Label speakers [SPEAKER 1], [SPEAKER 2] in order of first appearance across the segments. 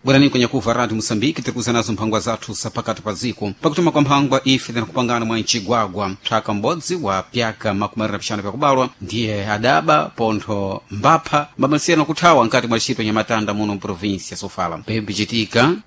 [SPEAKER 1] Bwerani kwenye kuva Radio Moçambique tirikuza nazo mphangwa zathu zapakati pa dziko. Pakutuma kwa mphangwa ife tinakupangana mwa mcigwagwa mthaka m'bodzi wa pyaka 25 pyakubalwa ndiye adaba pontho mbapha mbamalisiyana kuthawa nkati mwa ntchito nyamatanda muno mprovinsi ya Sofala. Pembe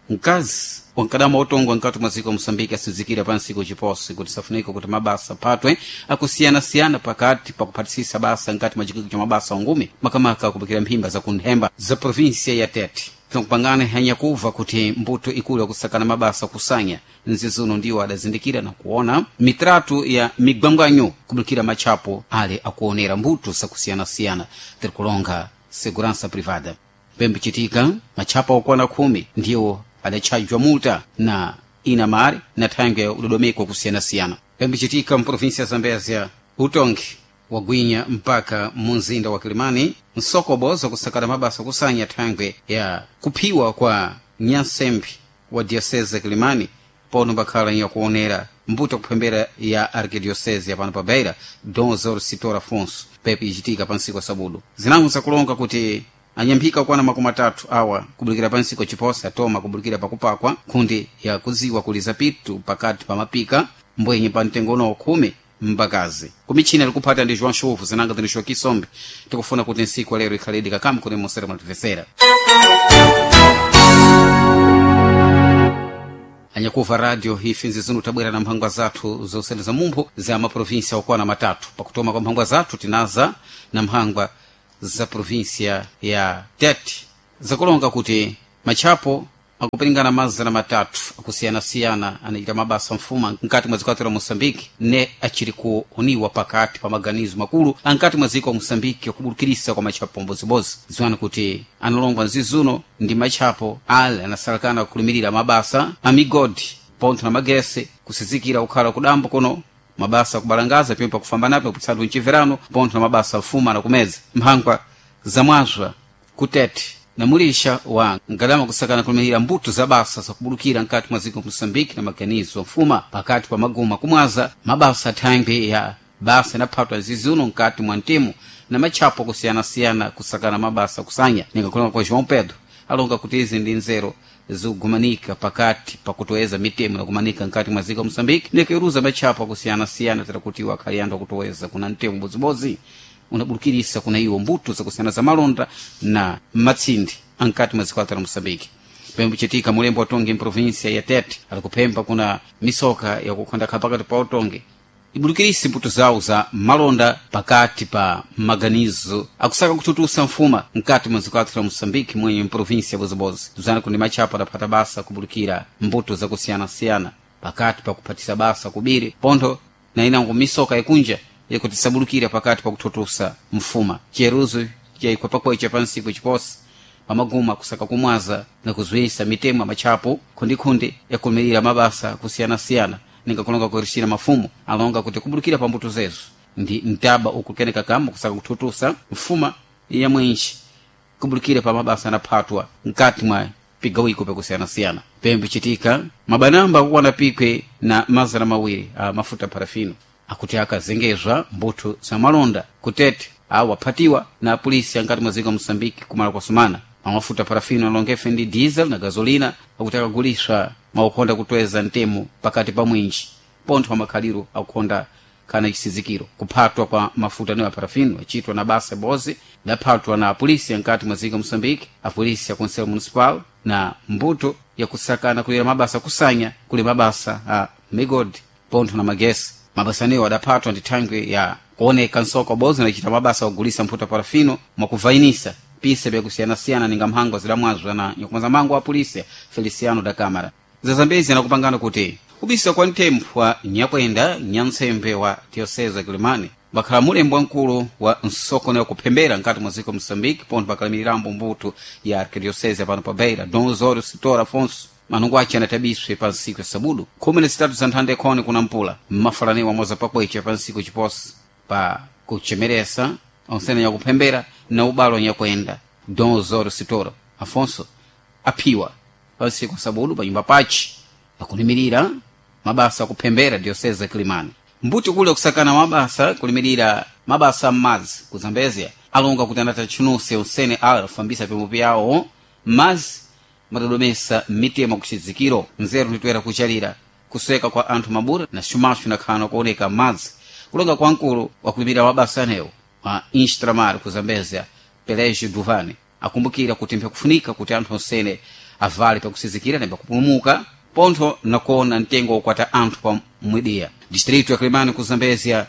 [SPEAKER 1] mkazi wankadama otongwa nkati mwa dziko Moçambique asinzikira pa ntsiku ciposi kuti safunika kuti mabasa aphatwe akusiyana-siyana pakati pakuphatisisa basa nkati mwa chikiko cha mabasa ungumi makamaka kupikira mphimba zakunthemba za provinsia ya Tete. Tinakupangana hanyakuva kuti mbuto ikulu yakusakana mabasa kusanya nzizuno ndiwo adazindikira na kuona mitratu ya migwangwanyo kubulikira matchapo ale akuonera mbuto zakusiyana-siyana tirikulonga segurança privada. Pembe chitika matchapo okwana 10 ndiwo adatchajwa multa na inamari na thangwe ya udodomeko kusiyana-siyana. Pembe chitika mprovinsia ya Zambezia utongi wagwinya mpaka munzinda wa Kilimani nsokobo kusakata mabasa kusanya thangwe ya kuphiwa kwa nyansembe wa diocese ya Kilimani pono bakhala yakuonera mbuto kuphembera ya arquidiocese ya pano pa Beira Dom Zor Sitor Afonso pepe ichitika pa ntsiku ya sabudu. Zinango zakulonga kuti anyamphika kwana 30 awa kubulikira pa ntsiku chiposa atoma kubulikira pakupakwa nkhundi ya kudziwa kuli zapitu pakati pa mapika mbwenye pa mtengo uno 10 mbakazi kumichina likuphata ndi João Chuvu zinanga zini Kisombe tikufuna kuti ntsiku lero ikhaledi kakamu kuti musere mwatimvesera. Anyakuva radio ife nzizunu tabwera na mphangwa zathu zosendeza mumpho za maprovinsia okwana 3. Pakutoma kwa mphangwa zathu tinaza na mphangwa za provinsia ya Tete zakulonga kuti matchapo akupiringana 300 akusiyana-siyana anachita mabasa mfuma nkati mwa dziko la Moçambique ne achiri kuoniwa pakati pa maganizo makulu ankati mwa dziko la Moçambique akubulukirisa kwa matchapo mbodzimbodzi. Ziwani kuti analongwa nzizuno ndi matchapo ale anasalakana kulimirira mabasa a migodi pontho na magese kusizikira kukhala kudambo kuno mabasa akubalangaza pimwe pakufamba napo kupitsatu mchiverano pontho na mabasa mfuma na kumeza mphangwa zamwazwa kutete na mulisha wa ngalama kusakana kulimirira mbuto za basa zakubulukira nkati mwa dziko Moçambique na maganizo mfuma pakati pa maguma kumwaza mabasa thangwi ya basa inaphatwa zizuno nkati mwa mtimu na matchapo kusiyana-siyana kusakana mabasa kusanya ningakulonga kwa João Pedro alonga kuti izi ndi nzero zikugumanika pakati pakutoweza mitemo nakumanika nkati mwa dziko Moçambique nikuiruza matchapo akusiyana-siyana tera kuti iwo akhali anthu akutoweza kuna mtemo bodzibodzi unabulukirisa kuna iwo mbuto zakusiyana za malonda na matsindi ankati mwa dziko la Moçambique. Pembe chitika mulembo watonge mprovinsia ya Tete alikuphemba kuna misoka yakukhondakha pakati pa utonge ibulukirisi mbuto zawo za malonda pakati pa maganizo akusaka kututusa mfuma nkati mwa dziko la Moçambique mwenye mprovinsia bozibozi tuzana kundi matchapo adaphata basa kubulukira mbuto zakusiyana-siyana pakati pa kuphatisa basa kubiri pontho na inango misoka ikunja yakuti sabulukira pakati pa kuthutusa mfuma. Chiyeruzo chaikwa pakwecha pa ntsiku chiposi pamaguma kusaka kumwaza na kuzwisa mitemo ya matchapo khundikhundi yakulimirira mabasa kusiyana-siyana ningakulonga kuirishira mafumu alonga kuti kubulukira pa mbuto zezo ndi mtaba ukukeneka kama kusaka kuthutusa mfuma ya mwenji kubulukira pa mabasa anaphatwa nkati mwa pigawiko pakusiyana-siyana. Pembe chitika mabanamba akukwana pikwe na 200 a mafuta parafino akuti akazengezwa mbuto za malonda kutete awo aphatiwa na polisi ankati mwa dziko Moçambique kumala kwa sumana mamafuta parafino alongefe ndi diesel na gasolina akuti akaguliswa maukonda kutweza mtemo pakati pa mwinji pontho amakhaliro akukonda kana chisizikiro. Kuphatwa kwa mafuta niwo parafino achitwa na basa bozi daphatwa na polisi ankati mwa dziko Moçambique apolisi a conselho municipal na mbuto yakusakana kulira mabasa kusanya kuli mabasa a migodi pontho na magesi. Mabasa niwo adaphatwa ndi thangwi ya kuoneka nsoko bozi nachita mabasa ogulisa mphuta parafino mwakuvainisa pisa byakusiyana-siyana ninga mhango zidamwazwa na nyakumaza mango a polisi Feliciano da Câmara. Zazambezi anakupangana kuti ubisa kwa mthempho wa nyakwenda nyantsembe wa diocese ya Kilimani bakhala mulembo wamkulu wa nsoko yakuphembera nkati mwa dziko Moçambique pontho bakhalimirambo mbuto ya arquidiocese pano pa Beira Dom Osório Sitor Afonso manungo ace anatabiswe pa ntsiku ya sabudu 13 za nthanda ikhoni kuna mpula mmafalaniwa moza pakwecha pa ntsiku chiposi pa kuchemeresa onsene nyakuphembera na ubalo nyakwenda Dom Osório Sitor Afonso aphiwa pa ntsiku ya sabudu pa nyumba pace akulimirira mabasa akuphembera diocese ya Kilimani. Mbuti kule kusakana mabasa kulimirira mabasa m'madzi ku Zambezia alonga kuti anatachunuse onsene ala kufambisa pimwe pyawo m'madzi Madadomesa mmitema kuchizikiro nzeru nditoera kuchalira kuseka kwa anthu mabura na xumaxu inakhana kuoneka madzi kulonga kwa mkulu wakuimira wabasa anewo wa instramar ku Zambezia, Pelégio Duvani, akumbukira kuti mpyakufunika kuti anthu onsene avale pakusizikira na pakupulumuka pontho nakuona mtengo wokwata anthu pa mwidiya. Distrito ya Kilimani ku Zambezia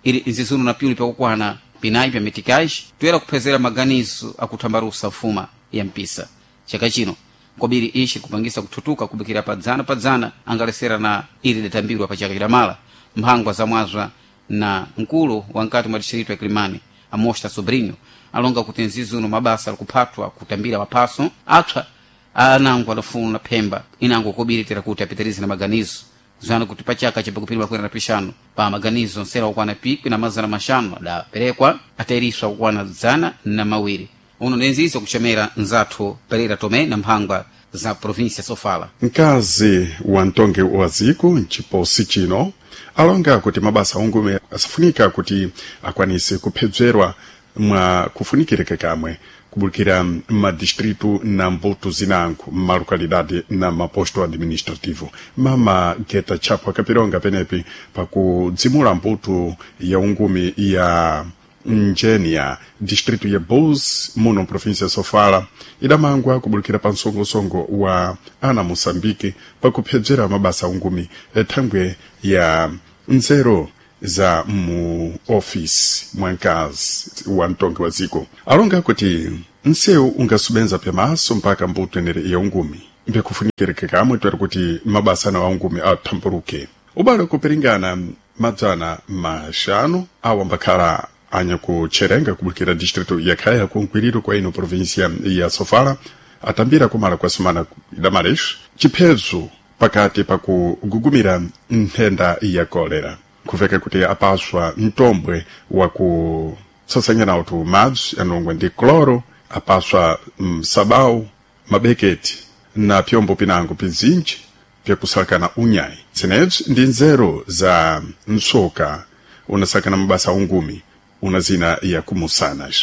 [SPEAKER 1] ili nzizuno na pyuli pyakukwana pinayi pya mitikaji toyera kuphezera maganizo akuthambalusa mfuma ya mpisa chaka chino kobiri ishi kupangisa kuthutuka kubikira padzana padzana angalesera na ili datambirwa pa chaka chidamala. Mphangwa zamwazwa na mkulu wa nkati mwa distrito ya Kilimani, Amosta Sobrinho, alonga kuti nzizuno mabasa alikuphatwa kutambira maphaso apsa anango adafuna phemba inango kobiri tera kuti apitirize na maganizo zana kuti pachaka chapakupiri makwera na pixanu pa maganizo nsera okwana 1500 adaperekwa atairiswa kukwana 200. Uno nenzizo kuchomera nzathu Pereira Tomé na mphangwa za província Sofala.
[SPEAKER 2] Mkazi wa mtongi wa ziko mchiposi chino alonga kuti mabasa ungume asafunika kuti akwanise kuphedzerwa mwa kufunikireka kamwe kubulikira madistritu na mbuto zinango malokalidade na maposto administrativo. Mama Geta Chapo akapironga penepi pakudzimula mbuto ya ungumi ya Njenia, distrito ya Bulls, muno província ya Sofala, idamangwa kubulikira pa msongosongo wa ana Moçambique pakuphedzera mabasa ungumi thangwe ya nzeru za mu ofisi mwa mkazi wa mtongi wa ziko. Alonga kuti nsewu ungasubenza pyamaso mpaka mbuto enere ya ungumi mbekufunikireke kamwe twere kuti mabasa ana ungumi athamburuke ubale kupiringana 500 awa mbakhala anyakucherenga kubulikira distrito ya Khaya kunkwiriro kwa ino província ya Sofala atambira kumala kwa sumana idamalex chiphezo pakati pakugugumira nthenda ya kolera kuveka kuti apaswa mtombwe wa kutsasanya nawo tu madzi anongwe ndi cloro, apaswa msabau, mabeketi na pyombo pinango pizinji pyakusalakana unyayi. Tsenebzi ndi nzeru za msoka unasakana mabasa ungumi una zina ya kumusanas.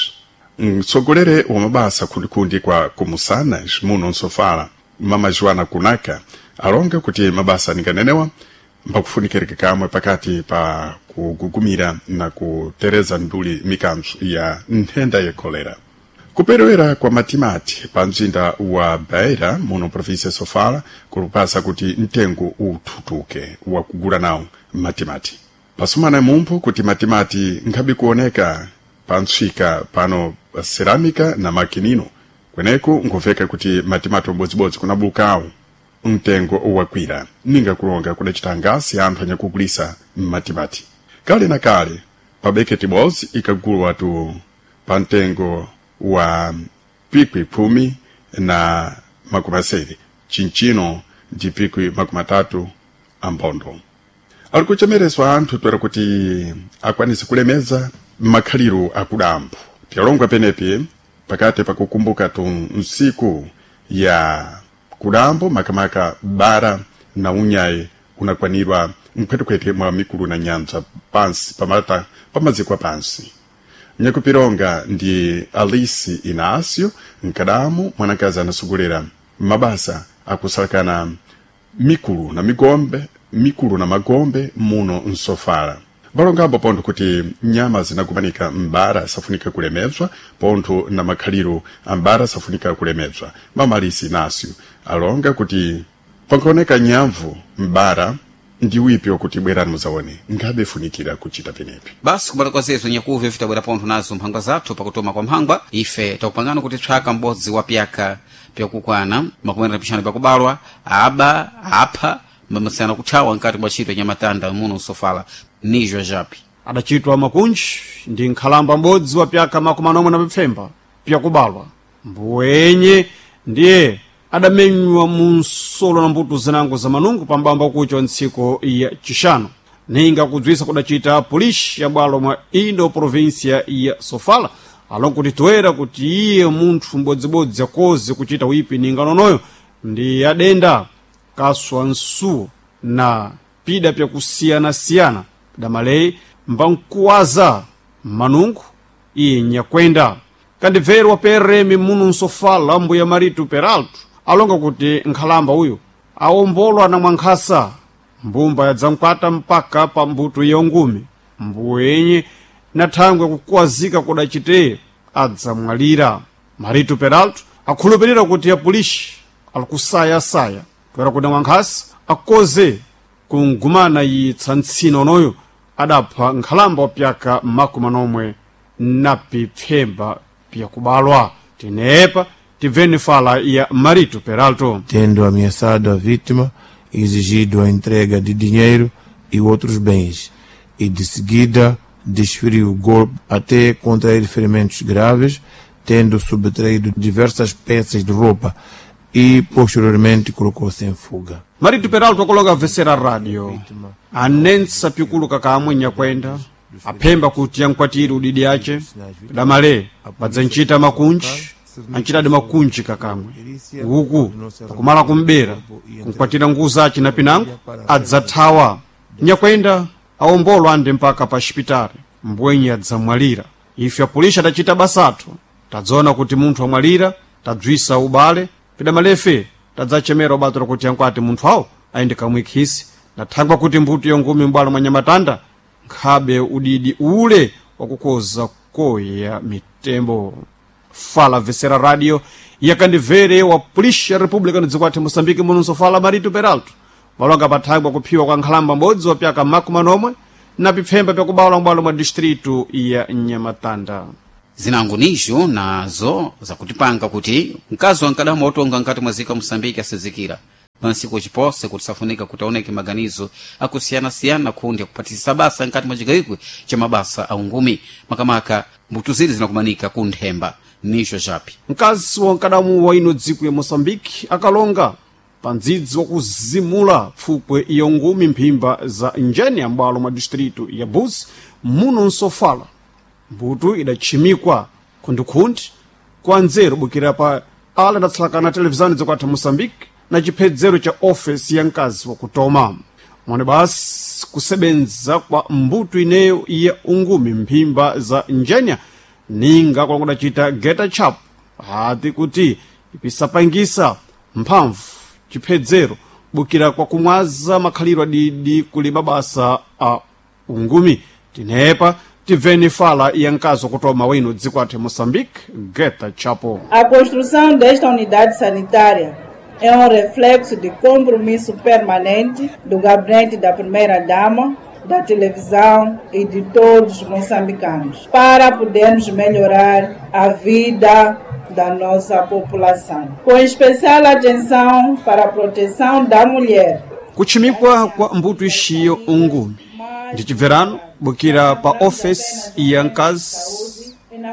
[SPEAKER 2] Mtsogolere wa mabasa kundikundi kwa kumusanas muno nsofala, mama Joana Kunaka, alonga kuti mabasa ninganenewa mpakufunikirika kamwe pakati pa kugugumira na kutereza nduli mikanzo ya nthenda ya kolera. Kuperewera kwa matimati pa mzinda wa Beira muno província ya Sofala kulupasa kuti mtengo uthutuke wa kugula nawo matimati. Pasumana mumpho kuti matimati nkhabe kuoneka pa ntswika pano cerâmica na makinino kweneko nkumveka kuti matimati obodzibodzi kunabukawo mtengo wakwira ninga kulonga kudacita ngasi anthu anyakugulisa matimati. Kale na kale pa beketi bodzi ikagulwa tu pa mtengo wa 108, chinchino ndi 30 ambondo. Ali kuchemereswa anthu twera kuti akwanise kulemeza makhaliro akudambo. Tiyalongwa penepi pakati pakukumbuka tu nsiku ya kudambo makamaka bara na unyayi unakwanirwa mkhwetekhwete mwa mikulu na nyanja pansi pamata pamaziko pansi. Nyakupironga ndi Alice Inácio Nkadamu, mwanakazi anasogolera mabasa akusalakana mikulu na migombe, mikulu na magombe muno nsofala. Balongambo pontho kuti nyama zinakumanika m'bara safunika kulemedzwa pontho na makhaliro ambara safunika kulemedzwa. Mama Alice Inácio alonga kuti pankaoneka nyamvu m'bara ndi wipi wakuti bwerani muzaone ngabe funikira kuchita penepi.
[SPEAKER 1] Basi kumala kwa zezo nyakuve vitabwera pontho nazo mphangwa zathu pakutoma kwa mphangwa. Ife takupangana kuti tswaka m'bodzi wa pyaka pyakukwana 45 pakubalwa aba apha mbamasana kuthawa nkati mwa ntchito nyamatanda muno nsofala nijwa japi.
[SPEAKER 3] Adachitwa makunji ndi nkhalamba m'bodzi wa pyaka 47 pyakubalwa mbuwenye ndiye adamenywa mu nsolo na mbuto zinango za manungu pambamba kucha ntsiko ya chixano. Ninga kudzwisa kudacita polisi ya bwalo mwa indo província ya Sofala alongo kuti toera kuti iye munthu m'bodzibodzi akoze kuchita wipi ninga nonoyo ndi adenda kaswa nsuwo na pida pyakusiyanasiyana damaleyi mbankuwaza manungu iye nyakwenda. Kandibveru wa PRM muno nsofala mbuya Marito Peralto Alonga kuti nkhalamba uyu awombolwa na mwankhasa, mbumba yadzamkwata mpaka pa mbuto yongumi. Mbuwenye na thangwe kukuwazika kudacite adzamwalira. Marito Peralto akhulupirira kuti apulishi alikusayasaya toera kuti mwankhasa akoze kungumana yitsa ntsina onoyo adapha nkhalamba wa pyaka 40 na pipfemba pyakubalwa. Tinepa tibveni fala ya Marito Peralto.
[SPEAKER 4] Tendo ameaçado a vítima, exigido a entrega de dinheiro e outros bens, e de seguida desferiu o golpe até contrair ferimentos graves, tendo subtraído diversas peças de roupa e posteriormente colocou-se em fuga.
[SPEAKER 3] Marito Peralto akoloka avesera radio anensa pikuluka kamwe nyakwenda aphemba kuti yankwatire udidi ace damale padzanchita makunji anchitadi makunji kakamwe uku pakumala kumbera kunkwatira nguza ace na pinango adzathawa. Nyakwenda awombolwa ande mpaka pa xipitali, mbwenye adzamwalira. Ife apulisha tachita basathu, tadzaona kuti munthu amwalira, tadzwisa ubale pidamalefe tadzachemera ubatira kuti yankwati munthu awo ayende kamwikhisi nathangwa kuti mbuto yongumi m'bwalo mwa Nyamatanda nkhabe udidi ule wakukoza koya mitembo. Fala vesera radio yakandivere wa pulisha republica dziko athu Moçambique munonso fala Marito Peralto malonga pathangwa kuphiwa kwa nkhalamba m'bodzi wa pyaka 40 na pipfemba pyakubawula m'bwalo mwa distritu ya Nyamatanda.
[SPEAKER 1] Zinango nizo nazo zakutipanga kuti mkazi wankadama otonga nkati mwa zika Moçambique asizikira pansiku chipose kuti safunika kuti aoneke maganizo akusiyanasiyana kundi akupatisa basa nkati mwa chigayiko cha mabasa a ungumi, makamaka mbuto zili zinakumanika ku nthemba nizo chapi.
[SPEAKER 3] Mkazi wa nkadamu wa ino dziko ya Moçambique akalonga pa ndzidzi wakuzimula pfupwe iyo ngumi mphimba za njeni ya m'bwalo mwa distritu ya Buzi muno nsofala. Mbuto idatchimikwa khundikhundi kwa nzeru bukira pa ala adatsalakana televizani dzokwatha Moçambique na chiphedzero cha ofesi ya mkazi wakutoma mwone basi kusebenza kwa mbuto ineyo ya ungumi mphimba za njenya ninga kwakudacita geta chap hati kuti ipisapangisa mphamvu chiphedzero bukira kwa kumwaza makhaliro adidi kuli mabasa a ungumi. Tinepa tibveni fala ya mkazi wakutoma wino dziko athu Moçambique, Geta Chapo.
[SPEAKER 5] A construção desta unidade sanitária é um reflexo de compromisso permanente do gabinete da primeira-dama, da televisão e de todos os moçambicanos, para podermos melhorar a vida da nossa população, com especial atenção para a proteção da mulher.
[SPEAKER 3] Kuchimikwa kwa mbuto ixiyo ungumi ndi chibverano bukira pa ofesi ya mkazi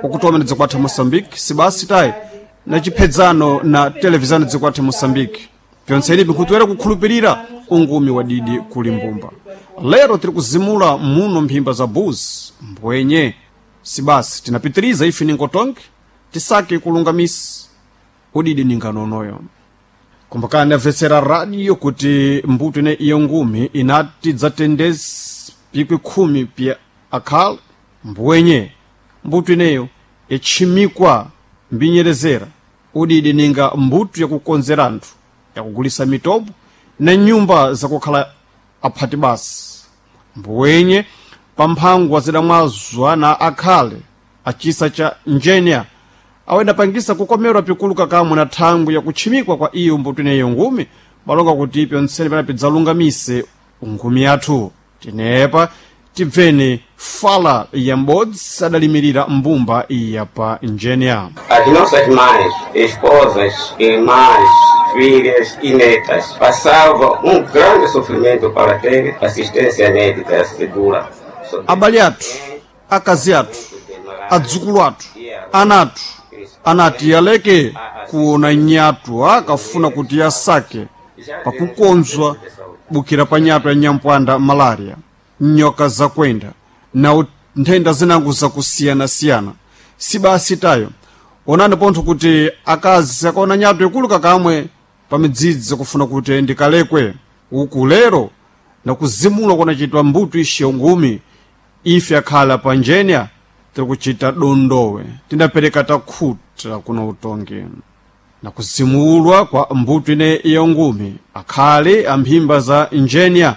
[SPEAKER 3] wakutoma ndi dziko athu Moçambique sibasi tayi na chiphedzano na televizani dziko athu Moçambique pyontseni bikhutuwera kukhulupirira ungumi wa didi kuli mbumba. Lero tiri kuzimula muno mphimba za Buzi mbwenye sibasi tinapitiriza ife ningotonke tisake kulungamisa udidi ninganonoyo. Kumbukani amvetsera radio kuti mbuto ine iyo ngumi inati dzatendezi pikwi 10 pya akhale mbwenye mbuto ineyo yatchimikwa mbinyerezera udidi ninga mbuto yakukonzera anthu, yakugulisa mitobo na nyumba zakukhala aphati basi. Mbwenye pamphangwa zidamwazwa na akhale achisa cha njenya awendapangisa kukomerwa pikuluka kamwe na thangwi yakutchimikwa kwa iyo mbuto ineyo ngumi balonga kuti pyontsene pena pidzalungamise ngumi yathu. Tinepa tibveni fala ya m'bodzi adalimirira mbumba iya pa njenya.
[SPEAKER 6] As nossas mães, esposas, irmãs, filhas e netas passavam um grande sofrimento para ter assistência médica segura.
[SPEAKER 3] Abale athu, akazi athu, adzukulu athu, ana athu anati aleke kuona nyatu akafuna kuti asake pakukonzwa bukira pa nyatu ya nyampwanda malaria, nyoka zakwenda na nthenda zinango zakusiyanasiyana. Sibasi tayo onani pontho kuti akazi akaona nyatu ikuluka kamwe pa midzidzi kufuna kuti ndikalekwe uku lero nakuzimula kunachitwa mbuto ixiyo ngumi. Ife akhala pa njenya tiri kuchita dondowe, tindapereka takhuta kuno utongi. Na kusimulwa kwa mbuto ine ya ngumi, akhale amphimba za injeniya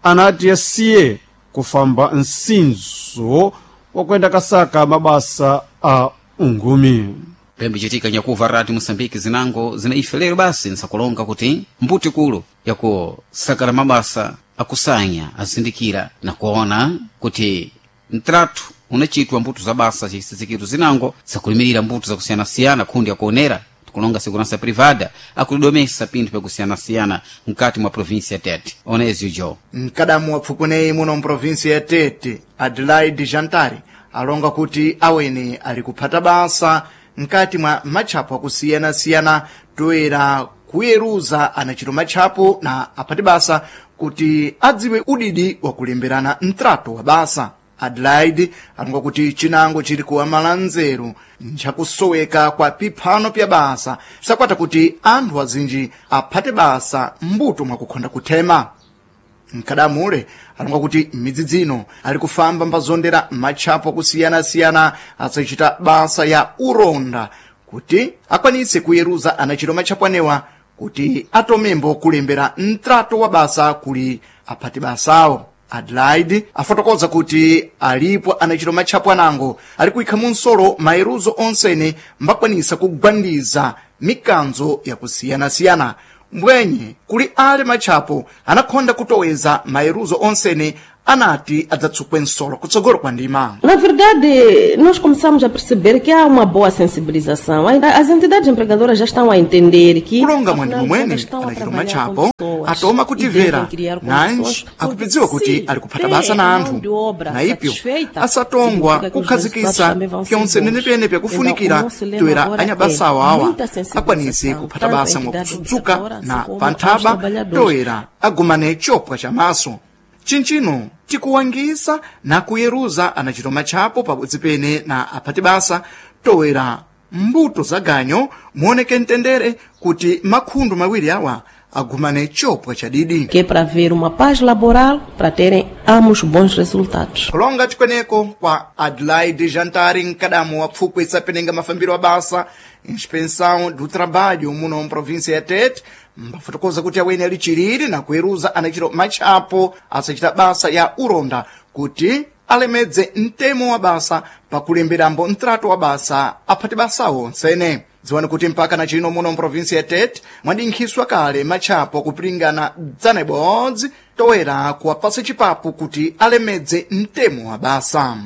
[SPEAKER 3] anati asiye kufamba msinzo wakwenda kasaka mabasa a ungumi.
[SPEAKER 1] Pembe chitika nyakuva rati Moçambique zinango zina ife lero basi nsakulonga kuti mbuti kulu yakusakala mabasa akusanya azindikira na kuona kuti mtratu unachitwa mbuto za basa cisizikitu zinango zakulimirira mbuto zakusiyanasiyana khundi yakuonera tikulonga segurança privada akulidomesa pinthu pyakusiyanasiyana mkati mwa província ya Tete. Onezio jo
[SPEAKER 7] Mkadamu wa pfukuneyi muno mprovinsi ya Tete, Adelaide Jantari, alonga kuti awene ali kuphata basa mkati mwa matchapo akusiyana-siyana toera kuyeruza anachito matchapo na aphati basa kuti adziwe udidi wakulemberana mtrato wa basa. Adelaide alonga kuti chinango chili kuwamala nzeru nchakusoweka kwa piphano pya basa sakwata kuti anthu azinji aphate basa mbuto mwakukhonda kuthema. Mkadamule alonga kuti midzi dzino ali kufamba mbazondera matchapo akusiyana-siyana asachita basa ya uronda kuti akwanise kuyeruza anachito matchapo anewa kuti atomembo kulembera mtrato wa basa kuli aphati basawo. Adelaide afotokoza kuti alipo anachito matchapo anango ali kuyikha munsolo mayeruzo onsene mbakwanisa kugwandiza mikanzo yakusiyana-siyana. Mbwenye kuli ale matchapo anakhonda kutoweza mayeruzo onsene anati adzatsukwe nsolo kutsogolo kwa ndima.
[SPEAKER 8] Na verdade, nós começamos a perceber que há uma boa sensibilização. As entidades empregadoras já estão a entender que
[SPEAKER 7] Kulonga
[SPEAKER 8] afinal,
[SPEAKER 7] mwandi
[SPEAKER 8] elas
[SPEAKER 7] momwene
[SPEAKER 8] estão a
[SPEAKER 7] anachito
[SPEAKER 8] trabalhar
[SPEAKER 7] matchapo
[SPEAKER 8] com pessoas
[SPEAKER 7] atoma
[SPEAKER 8] e
[SPEAKER 7] kutivera
[SPEAKER 8] devem criar
[SPEAKER 7] nanji
[SPEAKER 8] condições, porque
[SPEAKER 7] akupidziwa kuti
[SPEAKER 8] se
[SPEAKER 7] ali kuphata
[SPEAKER 8] têm
[SPEAKER 7] basa na
[SPEAKER 8] a
[SPEAKER 7] anthu
[SPEAKER 8] mão de obra
[SPEAKER 7] na ipyo
[SPEAKER 8] satisfeita,
[SPEAKER 7] asatongwa
[SPEAKER 8] significa que os resultados
[SPEAKER 7] kukhazikisa
[SPEAKER 8] também vão ser
[SPEAKER 7] pyonse
[SPEAKER 8] bons.
[SPEAKER 7] nenepene pyakufunikira
[SPEAKER 8] Então, o nosso lema
[SPEAKER 7] toera
[SPEAKER 8] agora
[SPEAKER 7] anyabasawo
[SPEAKER 8] é
[SPEAKER 7] awa
[SPEAKER 8] muita
[SPEAKER 7] akwanise
[SPEAKER 8] sensibilização,
[SPEAKER 7] kuphata
[SPEAKER 8] tanto à
[SPEAKER 7] basa
[SPEAKER 8] entidade
[SPEAKER 7] mwakutsuka
[SPEAKER 8] empregadora,
[SPEAKER 7] na
[SPEAKER 8] assim como aos
[SPEAKER 7] panthaba
[SPEAKER 8] trabalhadores.
[SPEAKER 7] toera agumane chopwa chamaso. Chinchino tikuwangisa na kuyeruza anachito matchapo pabodzi pene na aphati basa toera mbuto za ganyo muoneke mtendere kuti makhundu mawiri awa agumane chopwa chadidi.
[SPEAKER 8] Que é para haver uma paz laboral, para terem ambos bons resultados.
[SPEAKER 7] Kulonga chikweneko kwa Adelaide Jantari, mkadamu wa pfukwe isapenenga mafambiro a basa inspeção do trabalho muno mprovinsia ya Tete, mbafotokoza kuti awene ali chilili na kuweruza anachito matchapo asachita basa ya uronda kuti alemedze mtemo wa basa pakulemberambo mtrato wa basa aphati basawo onsene. Dziwani kuti mpaka na chino muno mprovinsi ya Tete mwadinkhiswa kale matchapo kupilingana 100 toera kuwapasa chipapu kuti alemedze mtemo wa basa.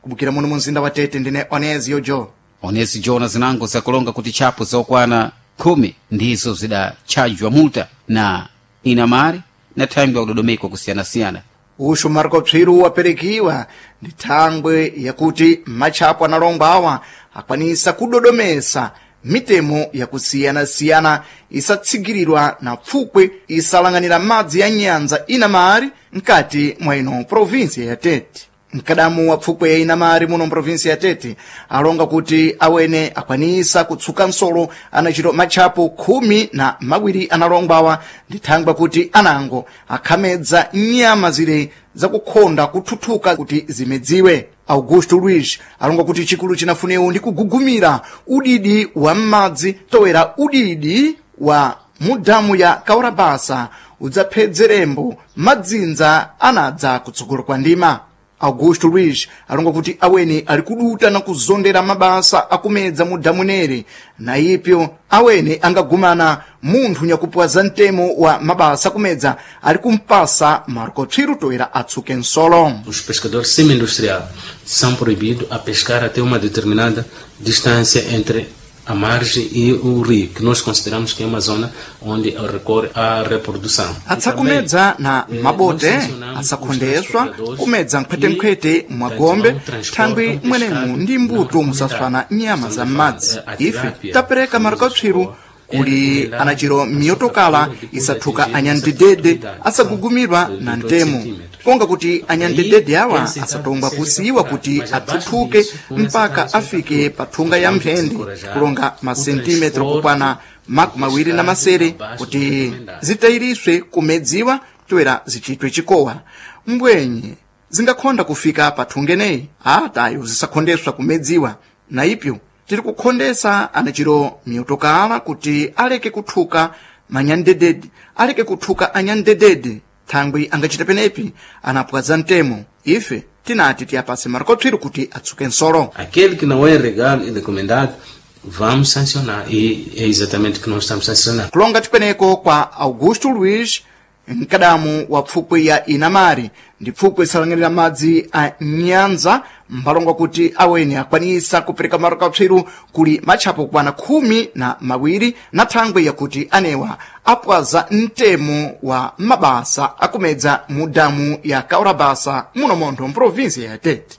[SPEAKER 7] Kubukira muno mu mzinda wa Tete ndine Onezio Jo.
[SPEAKER 1] Onezi jona zinango zakulonga kuti tchapo zokwana 10 ndizo zidatchajwa multa na inamari na thangwi yakudodomekwa kusiyanasiyana.
[SPEAKER 7] Uxu Marco Pswiru waperekiwa ndi thangwe yakuti matchapo analongwa awa akwanisa kudodomesa mitemo yakusiyana-siyana isatsigirirwa na pfukwe isalang'anira madzi ya nyanza inamari mkati mwa ino provinsia ya Tete. Mkadamu wa pfukwe ya inamari muno mprovinsi ya Tete alonga kuti awene akwanisa kutsuka nsolo anachito matchapo 12 analongwawa ndi thangwe kuti anango akhamedza nyama zile zakukhonda kuthuthuka kuti zimedziwe. Augusto Luiz alonga kuti chikulu chinafunewu ndi kugugumira udidi wa m'madzi toera udidi wa mudamu ya Kaurabasa udzaphedzerembo madzinza anadza kutsogolo kwa ndima. Augusto Luiz alonga kuti aweni ali kuduta na kuzondera mabasa akumedza mu damu nere na ipyo awene angagumana munthu nyakupwaza mtemo wa mabasa akumedza ali kumpasa Marco Tswiru toera atsuke nsolo.
[SPEAKER 9] Os pescadores semi-industriais são proibidos a pescar até uma determinada distância entre a margem e o rio, que nós consideramos que é uma zona onde recorre à reprodução.
[SPEAKER 7] Atsakumedza na mabote asakhondeswa kumedza nkhwetenkhwete mwagombe thangwi mwenemu ndi mbuto musaswana nyama za m'madzi. Ife tapereka marikatswiru kuli anachiro miyotokala isathuka anyandedede asagugumirwa na mtemo konga kuti anyandedede awa asatongwa kusiyiwa kuti athuthuke mpaka afike pa thunga ya mphende kulonga masentimetro kukwana 26 kuti zitayiriswe kumedziwa toera zichitwe chikowa. Mbwenye zingakhonda kufika pa thunga eneyi atayo zisakhondeswa kumedziwa na ipyo Tiri kukhondesa anachiro miotokala kuti aleke kuthuka manyandedede, aleke kuthuka anyandedede thangwi angachita penepi anapwaza mtemo. Ife tinati tiyapase marikotswiro kuti atsuke nsolo.
[SPEAKER 9] Aquele que não é legal e recomendado, vamos sancionar. E é exatamente o que nós estamos sancionando.
[SPEAKER 7] Kulonga tipeneko kwa Augusto Luiz, mkadamu wa pfukwe ya Inamari ndi pfukwe isalang'anira madzi a Nyanza, mphalongo kuti aweni akwanisa kupereka marikapswiru kuli matchapo kwana 12 na thangwi yakuti anewa apwaza mtemo wa mabasa akumedza mu damu ya Kaurabasa muno montho mprovinsia ya Tete.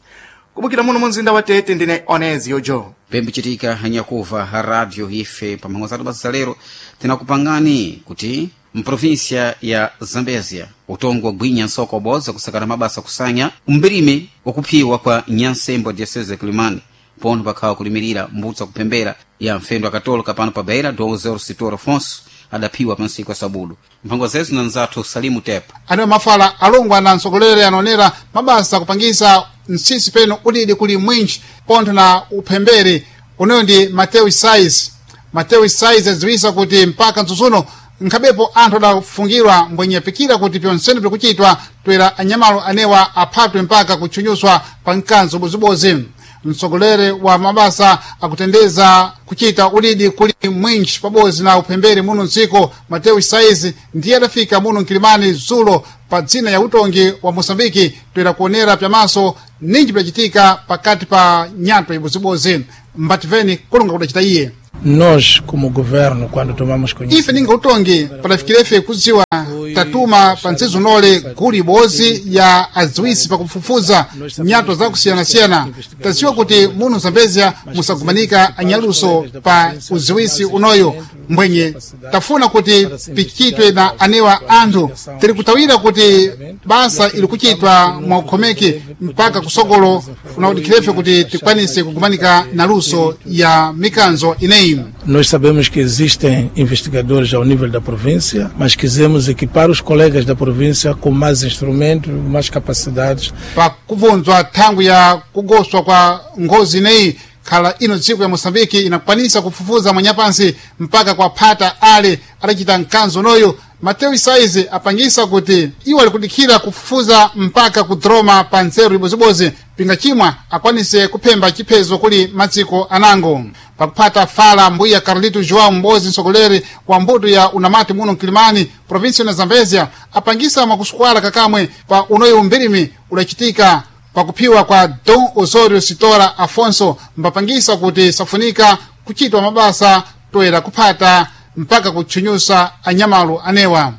[SPEAKER 7] Kubukira muno mu mzinda wa Tete, ndine Onezio Joe.
[SPEAKER 1] Pembichitika hanyakuva ha radio ife pamhango zathu basa za lero tinakupangani kuti mprovinsia ya Zambezia utongo wagwinya nsoko waboza kusakana mabasa kusanya umbirime wakuphiwa kwa nyansembo diocese ya Kilimani pono pakhawa kulimirira mbutsa kuphembera ya mfendo akatolika pano pa Beira Dom Zero Sitor Afonso adaphiwa pansiku asabudu. Mphango zezu na nzathu Salimu Tepa.
[SPEAKER 10] Aniwa mafala alongwa na mtsogoleri anaonera mabasa kupangisa mtsitsi peno udidi kuli mwinji pontho na uphembere uneyo ndi Mateo Sais. Mateo Sais adziwisa kuti mpaka mtsutsuno nkhabepo anthu adafungirwa mbwenyepikira kuti pyonsene pikuchitwa toera anyamalo anewa aphatwe mpaka kutchunyuswa pa mkanzo ubozibozi. Mtsogoleri wa mabasa akutendeza kuchita udidi kuli mwinji pabodzi na uphembere muno mdziko Mateo Saizi ndiye adafika muno mkilimani dzulo pa dzina ya utongi wa Moçambike toera kuonera pyamaso ninji pyachitika pakati pa nyatwa ibozibozi. Mbativeni kulonga kudacita iye.
[SPEAKER 11] Nós, como governo, quando tomamos
[SPEAKER 10] Ife ninga utongi padafikirefe kudziwa tatuma pa ntsizo nole gulu ibodzi ya adziwisi pakufufuza nyato zakusiyanasiyana. Tadziwa kuti muno Zambezia musagumanika anyaluso pa udziwisi unoyo mbwenye tafuna kuti pichitwe na anewa anthu. Tiri kutawira kuti basa ili kuchitwa mwa ukhomeki mpaka kusogolo unaudikirefe kuti tikwanise kugumanika na luso ya mikanzo ineyi.
[SPEAKER 11] Nós sabemos que existem investigadores ao nível da província, mas quisemos equipar os colegas da província com mais instrumentos, mais capacidades.
[SPEAKER 10] Pakubvunzwa thangwi ya kugoswa kwa ngozi ineyi khala ino dziko ya Moçambike inakwanisa kufufuza mwanyapansi mpaka kwa phata ale adachita mkanzo unoyo. Mateo Isaizi apangisa kuti iwo alikudikhira kufufuza mpaka kudroma pa nzeru ibozibozi pinga chimwa akwanise kuphemba chiphezo kuli madziko anango. Pakuphata fala mbuya Carlito João Mbozi, mtsogoleri wa mbuto ya unamati muno mkilimani provinsi ya Zambezia, apangisa makusukwala kakamwe pa unoyo umbirimi udachitika pakuphiwa kwa Dom Osorio Sitora Afonso, mbapangisa kuti safunika kuchitwa mabasa toera kuphata mpaka kutchunyusa anyamalu anewa.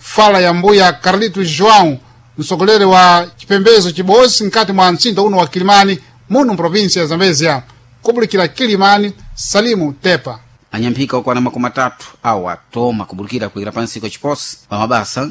[SPEAKER 10] Fala ya mbuya Carlito João, mtsogoleri wa chipembezo chibosi nkati mwa mtsinda uno wa Kilimani muno mprovinsi ya Zambezia. Kubulikira Kilimani, Salimu Tepa.
[SPEAKER 1] Anyamphika okwana 30 awo atoma kubulikira kuira pansi kwa chiposi pa mabasa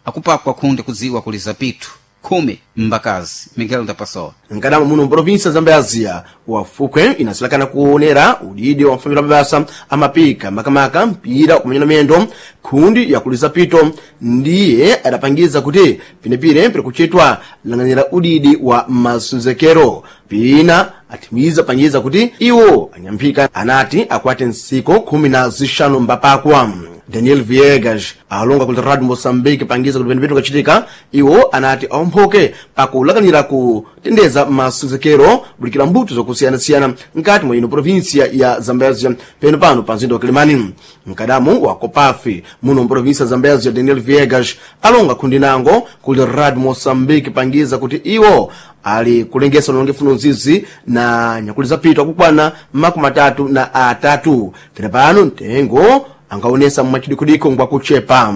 [SPEAKER 1] akupakwa khunde kudziwa kuli zapitu 10 mbakazi. Miguel Ndapasowa.
[SPEAKER 12] Nkadama muno mprovinsia Zambezia wafukwe inasilakana kuonera udidi wa mfamila mabasa amapika makamaka mpira kumanyana miyendo khundi yakuliza pito ndiye adapangiza kuti pinepine piri kuchitwa lang'anira udidi wa masenzekero pina athimiza pangiza kuti iwo anyamphika anati akwate nsiko 15 mbapakwa. Daniel Viegas alonga ku Radio Moçambique pangiza kuti penepene kachitika iwo anati aomphoke pakulakanira kutendeza masenzekero bulikira mbuto zokusiyanasiyana nkati mwa ino provinsia ya Zambezia peno pano pa mzinda wa Kilimani. Mkadamu wa Kopafi muno mprovinsia ya Zambezia Daniel Viegas alonga khundi nango ku Radio Moçambique pangiza kuti iwo ali kulengesa ulongefu nzizi na nyakuli zapitwa kukwana 33 tere pano mtengo angaonesa mmachidikudiko ngwakuchepa.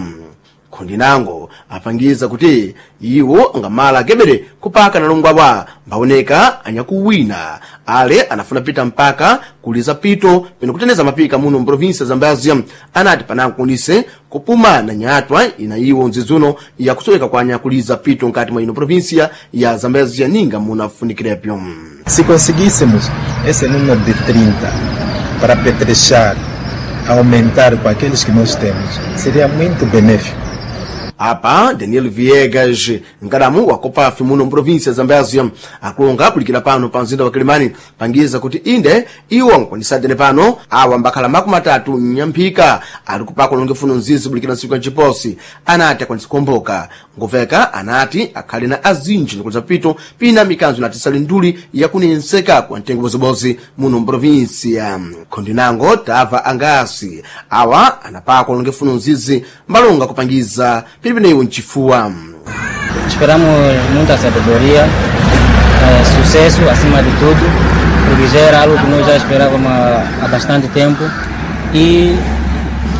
[SPEAKER 12] Khondinango apangiza kuti iwo angamala akebere kupaka nalongwawa mbaoneka anyakuwina ale anafuna pita mpaka kuliza pito pene kuteneza mapika muno mprovinsia Zambezia. Anati panankunise kupuma na nyatwa ina iwo nzizuno yakusoweka kwa anyakuliza pito nkati mwa ino provinsia ya Zambezia ninga munafunikilepyo.
[SPEAKER 13] Se conseguíssemos esse número de 30 para apetrechar, aumentar com aqueles que nós temos, seria muito benéfico.
[SPEAKER 12] Apa Daniel Viegas, nkadamu wa Copafi muno mprovinsia Zambezia, akulonga kulikira pano pa mzinda wa Kilimani pangiza kuti inde iwo nkwanisatene pano awa mbakhala 30 nyamphika ali kupaka ulongefuno mzizi kulikira ntsiku ya nciposi. Anati akwanisa kuomboka nguveka, anati akhale na azinji nikuliza pito pina mikanzo inatisali nduli yakunenseka kwa mtengo bozibozi muno mprovinsia. Khondinango tava angasi awa anapaka ulongefuno mzizi mbalonga kupangiza pilipineyo mchifuwa.
[SPEAKER 14] Esperamos muita sabedoria, sucesso acima de tudo, porque já era algo que nós já esperávamos há bastante tempo e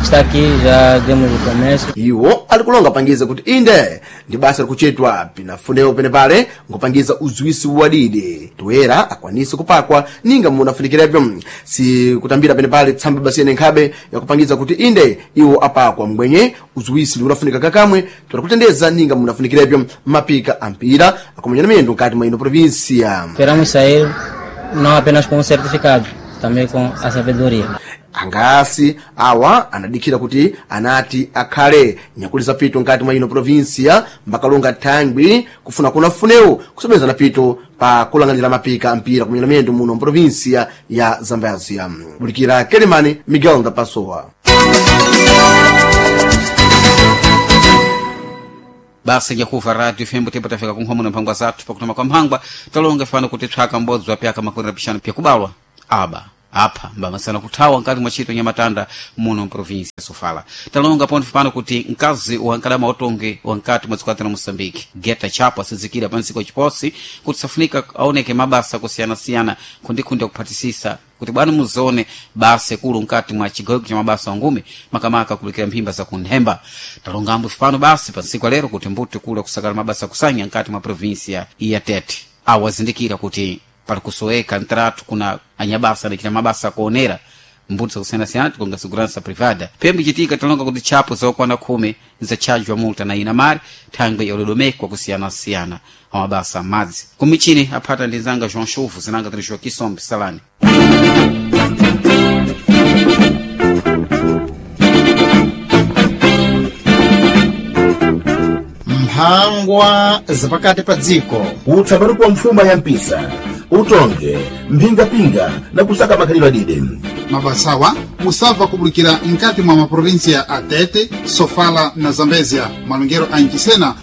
[SPEAKER 14] está aqui, já demos o começo.
[SPEAKER 12] Iwo alikulonga pangiza kuti inde ndi basa likuchetwa pinafunewo penepale nkupangiza uziwisi wadidi toyera akwanise kupakwa ninga munafunikirepo si kutambira penepale tsamba basiyene nkhabe yakupangiza kuti inde iwo apakwa mbwenye uziwisi liunafunika kakamwe torakutendeza ninga munafunikirepo mapika ampira akumenya miyendo nkati mwa ino provinsia.
[SPEAKER 14] Esperamos sair não apenas com um certificado, também com a sabedoria.
[SPEAKER 12] Angasi awa anadikira kuti anati akhale nyakuliza pito nkati mwa ino provinsia mbakalonga thangwi kufuna kuna funewo kusomezana pito pa kulang'anira mapika mpira kumenya miyendo muno mprovinsia ya Zambezia. Bulikira Kelemani, Miguel Ndapasowa.
[SPEAKER 1] Basa nyakuva radio fembo tembo tafika kunkhomo na mphangwa zathu pakutama kwa mphangwa talonga fano kuti tswaka mbodzi wa pyaka makumi na pixanu pyakubalwa aba apha mbamasana kuthawa nkati mwa ntchito nyamatanda muno mprovinsia ya Sofala. Talonga pontho pano kuti mkazi wa nkadama otonge wankati mwa dziko la Moçambique Geta Chapo asizikira pa ntsiko chiposi kuti safunika aoneke mabasa kusiyanasiyana khundikhundi akuphatisisa kuti bwana muzone basa ikulu nkati mwa chigawo cha mabasa wangume makamaka kulikira mphimba za kunthemba. Talongambo pano basi pa ntsiku lero kuti mbuti kula kusakala mabasa kusanya nkati mwa provinsia ya Tete awazindikira kuti pali kusoweka ntratu kuna anyabasa adachita mabasa akuonera mbuti zakusiyanasiyana tikonga segurança privada. Pembe chitika talonga kuti tchapo zokwana 10 zatchajwa multa na inamari thangwe yalodomekwa kusiyanasiyana amabasa amadzi kumichini aphata ndi nzanga João Chuvu zinanga tiri Joaquim Sombe Salani.
[SPEAKER 15] Mphangwa zapakati pa dziko.
[SPEAKER 16] Utsapatu kwa mfuma ya mpisa utonge mphingapinga na kusaka makhalidwe adide.
[SPEAKER 10] Mabasawa musabva kubulikira nkati mwa maprovinsia a Tete, Sofala na Zambezia malongero a Nchisena.